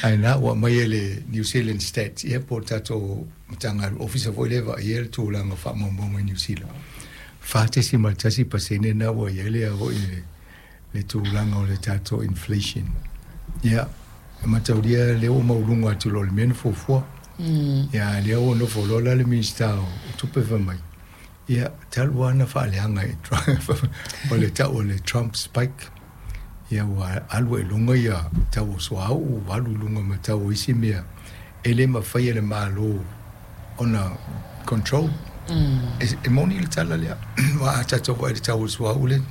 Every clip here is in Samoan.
Ae na ua aumai e le New Zealand Stats, ia po o le tatou Matagaluega, Ofisa foi lea e vaaia le tulaga o faamaumauga i Niu Sila, 4.1% lena ua i ai le foi le tulaga o le tatou inflation. Ia, e mataulia lea ua maualuga atu i lo le mea na fuafua. Ia, a lea ua nofo loa la le Minisita o Tupe fai mai, ia, talu lava ona faaleaga e Trump, o le tau o le Trump spike, ia ua alu ai i luga ia tau o suauu, ua alu i luga ma tau o isi mea e le mafai e le Malo ona control. E moni le tala lea, aua a tatou vaai i le tau o le suauu lea,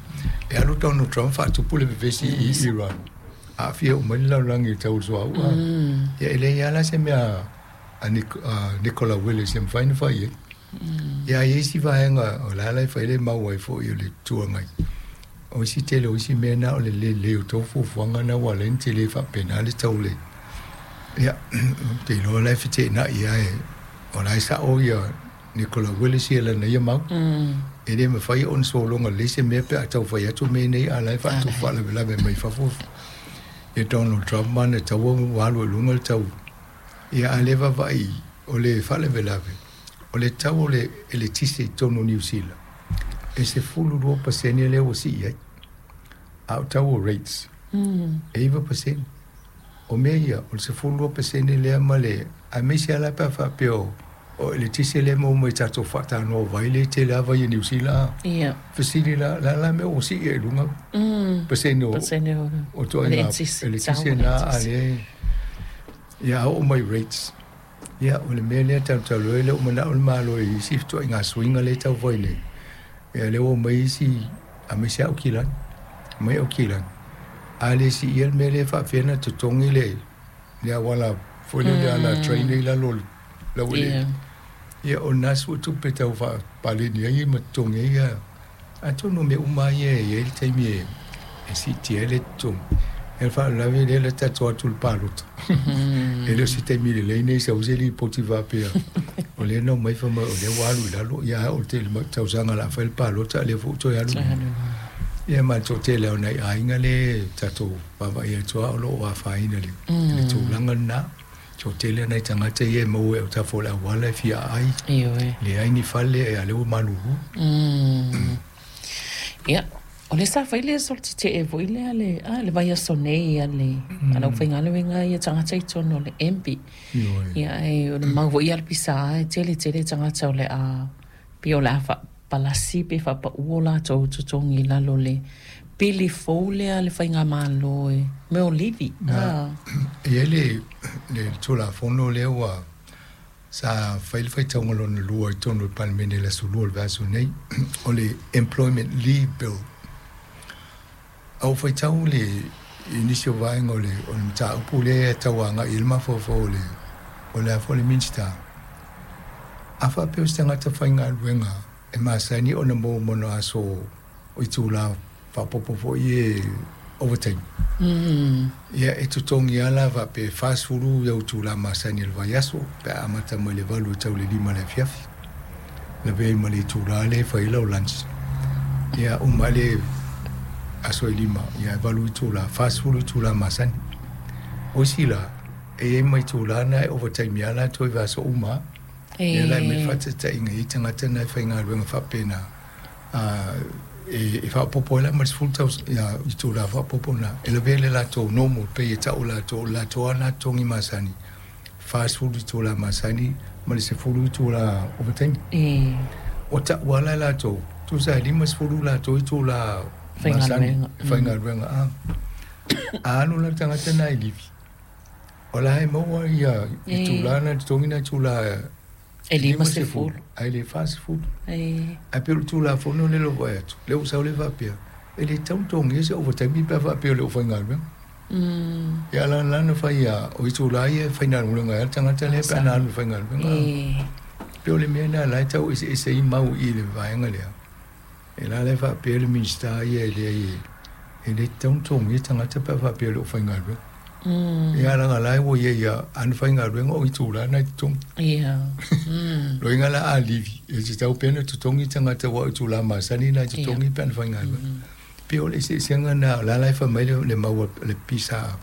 e alu Donald Trump faatupu le vevesi i Iran, aafia uma ai le lalolagi i le tau o le suauu. Ia e leai lava la se mea a Nicola Willis e mafai ona fai ai. Ia a i ai isi vaega o la e la e fai le mau ai foi o le Itu Agai, o isi tele o isi mea na o le lelei o tou fuafuaga na ua ala ai ona tele faapena le tau le ia ou te iloa la e feteenai lava e o la e sao ia Nicola Willis ia lana ia mau. E le mafai ona sologa lelei se mea pe a tau fai atu mea nei a o la e faatupu faalavelave mai fafo ia Donald Trump ma ana taua ua alu ai i luga le tau. Ia a le vaavaai o le faalavelave o le tau o le eletise i totonu o Niu Sila, e 12% lea ua sii ai, a o tau o rates, e 9%. O mea ia, o le 12% lea ma le, aemaise lava la pe a faapea o eletise lea e maua mai i tatou faatanoa vai lea e tele lava vai a Niu Sila. Ia. Fesili la, o le a la le mea ua sii ai i luga pasene o ituaiga eletise na, a lea e, ia a oo mai rates. Ia, o le mea lea talu ai lea ua manao le Malo i isi fetuaiga suiga lea e tau fai nei. Ia lea ua omai isi aemaise lava Aukilani. Omai Aukilani, a le siia le mea lea e faapefea ona totogi le le auala foi lea le ala train lea i lalo o le laueleele. Ia o lena suetupe tau faapaleni ai ma totogi ai ia Atonu o mea uma lava ia e i ai le taimi e siitia ai le totogi. Ia o le faalavelave lea la tatou o atu i le palota. E le o se taimi lelei nei sau ai se lipoti faapea o lea na omai fai mai o lea ua alu i lalo, ia ae o le tele tausaga o le a fai le palota a o lea foi ua toe alu i luga. Ia ma le toatele o nai aiga lea e tatou vaavaai atu lava o lo o afaina i le tulaga lena. Toatele nai tagata ia e maua i autafa o le auala e fia aai. Ioe. Leai ni fale, a o lea ua malulu. Ia, o lea sa fai le solo tetee foi lea le, a, le vaiaso nei a le, a le aufaigaluega ia tagata i totonu o le MB. Ioe. Ia, ae o le mau foi a le PSA e tele tele tagata o le a, pei o le a faapalasi pe faapau o latou totogi i lalo o le pili fou lea a le faigamalo e mea o livi. A. E i ai le, le Tulafono lea ua sa fai le faitauga lona lua i totonu o le Palemene i le aso Lua o le vaiaso nei, o le Employment Leave Bill. A ua faitau le, i nisi o vaega o le, o le mataupu lea e tau agai i ai le mafaufau o le, o le a foi le Minisita, a faapea o se tagata faigaluega e masani ona maua ma ona aso o itula faaopoopo foi ia overtime, ia e totogi lava la faapea e 40 au itula masani o le vaiaso pe a amata mai le 8 e tau i le 5 i le afiafi, lavea ai ma le itula lea e fai ai lau lunch. Ia uma ai le aso e 5, ia e 8 itula, 40 itula masani. O isi la, e i ai ma itula na e overtime lava latou i vaiaso uma lava. Ia la e aumai le faataitaiga e i ai tagata na e faigaluega faapena, e faaopoopo ai la ma le 10 itula faaopoopo lena, e lavea le latou normal pay e tau e latou, o le latou lava lena totogi masani, 40 itula masani ma le 10 itula overtime. Ua tau lava la e latou, tusa e 50 latou itula masani e faigaluega. A alu la le tagata lena i livi, o la e maua ia itula na, totogi na itula E 50. Ae le 40. Ae pei o le Tulafono lea o lou vaai atu, lea ua sau lea faapea, e le tatau ona totogia se ovataimi pe a faapea o le aufaigaluega. Ia a la na fai a, o itula ia e faigaluega ai le tagata lea pe a na alu e faigaluega. Pei o le mea lena o la e tau eseese ai mau i le vaega lea. E la la e faapea le Minisita ia e leai e le tatau ona totogia tagata pe a faapea o le aufaigaluega. Ia leaga la ua i ai a ana faigaluega o itula na e totogi. Ia. Loiga la a livi, e tatau pea ona totogi tagata aua o itula masani na e totogi pe ana faigaluega. Pei o le eseesega lena, o la la e fai mai le mau a le PSA.